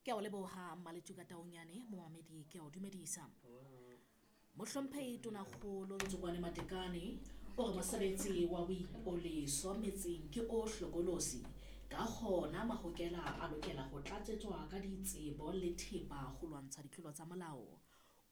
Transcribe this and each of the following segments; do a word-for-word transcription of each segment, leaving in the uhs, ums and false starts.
Ke a o leboha Maletuka Taunyane, momamedi ke a o dumedisa. Mohlomphehi Tonakgolo Ntsokoane Matekane o re mosebetsi wa boipoleso metseng ke o hlokolosi, ka hona mahokela a lokela ho tlatsetswa ka ditsebo le thepa ho lwantsha ditlolo tsa molao.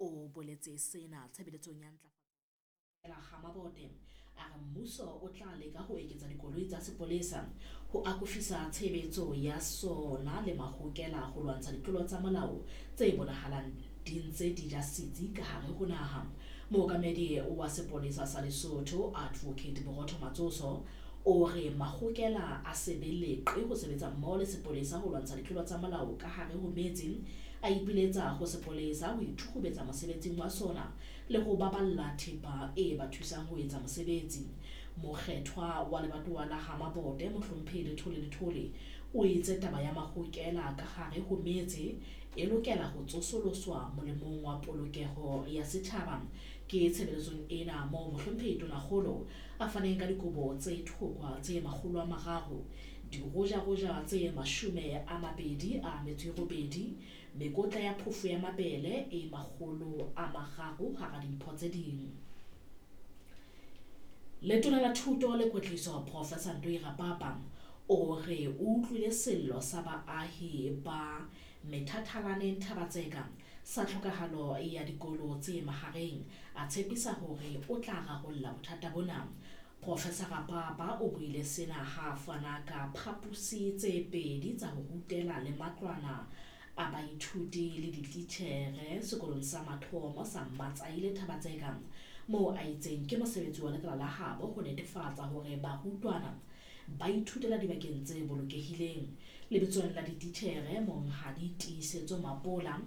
O boletse sena tshebeletsong ya ntlafatso ya Ha Mabote. A re mmuso o tla leka ho eketsa dikoloi tsa sepolesa ho akofisa tshebetso ya sona le mahokela ho lwantsha ditlolo tsa molao tse bonahalang di ntse di ja setsi ka hare ho naha. Mookamedi wa sepolesa sa Lesotho Advocate Borotho Matsoso o re mahokela a se be leqe ho sebetsa mmoho le sepolesa ho lwantsha ditlolo tsa molao ka hare ho metse. A ipiletsa ho sepolesa ho ithukhubetsa mosebetsing wa sona le ho baballa thepa e ba thusang ho etsa mosebetsi. Mokgethwa wa lebatowa la Ha Mabote Mohlomphehi Lethole Lethole o itse taba ya mahokela ka hare ho metse e lokela ho tsosoloswa molemong wa polokeho ya setjhaba. Ke tshebeletsong ena moo Mohlomphehi Tonakgolo a faneng ka dikobo tse thokwa tse makgolo a mararo, dirojaroja tse mashome a mabedi a metso e robedi, mekotla ya phofo ya mabele e makgolo a mararo hara dimpho tse ding. Letona la Thuto le Kwetliso Professor Ntoi Rapapa o re o utlwile sello sa baahi ba Methathalaneng Thaba-Tseka sa tlhokahalo ya dikolo tse mahareng, a tshepisa hore o tla rarolla bothata bona. Professor Rapapa o buile sena ha a fana ka phaposi tse pedi tsa ho rutela le matlwana a baithuti le dititjhere sekolong sa mathomo sa Mmatsaile Thaba-Tseka, moo a itseng ke mosebetsi wa lekala la habo ho netefatsa hore barutwana ba ithutela dibakeng tse bolokehileng. Lebitsong la dititjhere, Monghadi Tiisetso Mapola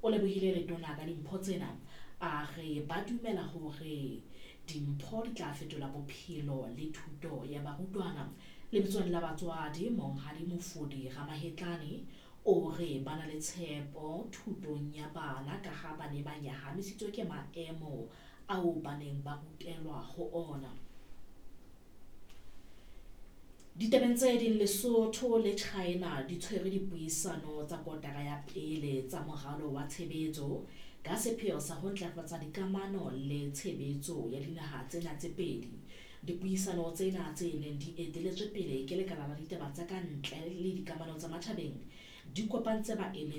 o lebohile letona ka dimpho tsena, a re ba dumela hore dimpho di tla fetola bophelo le thuto ya barutwana. Lebitsong la batswadi, Monghadi Mofodi Ramahetlane o re ba na le tshepo thutong ya bana ka ha ba ne ba nyahamisitswe ke maemo ao ba neng ba rutelwa ho ona. Ditabeng tse ding, Lesotho le China di tshwere dipuisano tsa kotara ya pele tsa moralo wa tshebetso ka sepheo sa ho ntlafatsa dikamano le tshebetso ya dinaha tsena tse pedi. Dipuisano tsena tse neng di eteletswe pele ke lekala la ditaba tsa ka ntle le dikamano tsa matjhabeng di kopantse baemedi